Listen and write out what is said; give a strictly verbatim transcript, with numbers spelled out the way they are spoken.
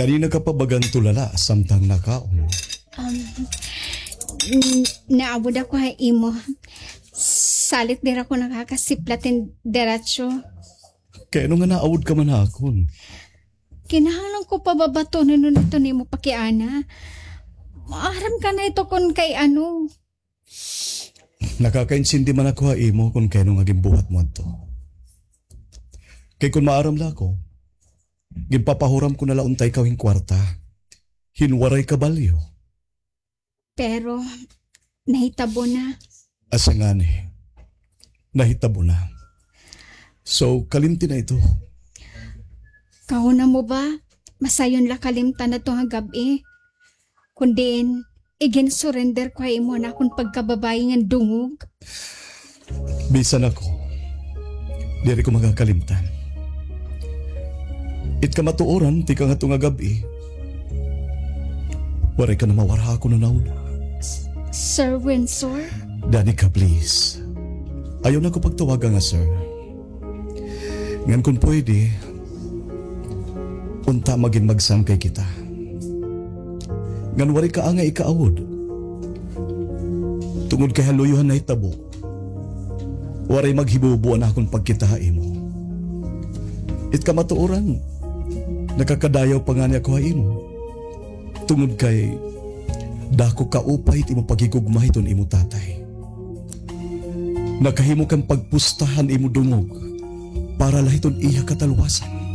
Kanina ka pa bagan tulala samtang nakaon? Um, n-, naabod ako ha imo. Salit diri ako nakakasiplat hin diretso. Kay ano nga naawod ka man ha akon? Kinahanglan ko pababatonon ito nimo pakiana. Maaram ka na ito kon kay ano. Nakakaintindi man ako ha imo kon kay ano nga ginbuhat mo adto. Kay kon maaram la ako, ginpapahuram ko na la unta ikaw hin kwarta. Hin waray kabalyo. Pero, nahitabo na. Asa ngani? Nahitabo na. So, kalimti na ito. Kahuna mo ba? Masayon la kalimtan adto nga gab-i. Kun diin, igin-surrender ko ha imo an akon pagkababaye ngan dungog. Bisan ako, diri ko makakalimtan. It kamatuoran, tikang hadto nga gab-i, waray ka na mawara ha akon hunahuna. S-, Sir Windsor? Danica, please. Ayaw na ko pagtawaga nga sir. Ngan kon pwede, unta magin magsangkay kita. Ngan waray ka angay ikaawod. Tungod kay ha luyo han nahitabo, waray maghibubo an akon pagkita ha imo. It kamatuoran, nakakadayaw pa ngani ako ha imo. Tungod kay dako kaupay it imo paghigugma hiton imo tatay. Nakahimo kan pagpusta han imo dungog para la hiton iya kataluwasan.